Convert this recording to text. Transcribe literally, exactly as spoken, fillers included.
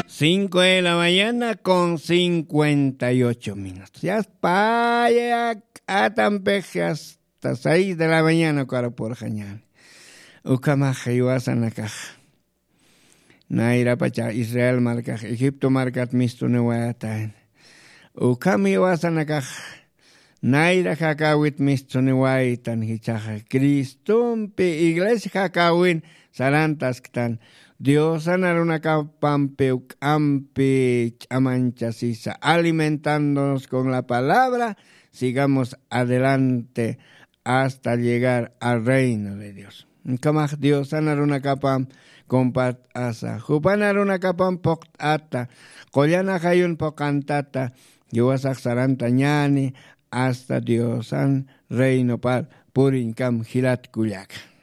Cinco de la mañana con cincuenta y ocho minutos. Yasta paya k'atampix, yasta seis de la mañana ukarapurxañani. Ukhamax jiwasanakax, nayrapacha Israel markax Egipto markat mistuniwayatayna. Ukham jiwasanakax nayra jakawit mistuniwaytan, jichhaxa Cristompi iglesia jakawin sarantasktan. Diosan arunakapampi juk'ampi ch'amanchasisa, alimentándonos con la palabra, sigamos adelante hasta llegar al reino de Dios. Ukhamax Diosan arunakapam compart'asa, jupan arunakapam phuqt'ata, qullan ajayun phuqantata, jiwasax sarantañani hasta Diosan reinopar puriñkam jilat kullaka.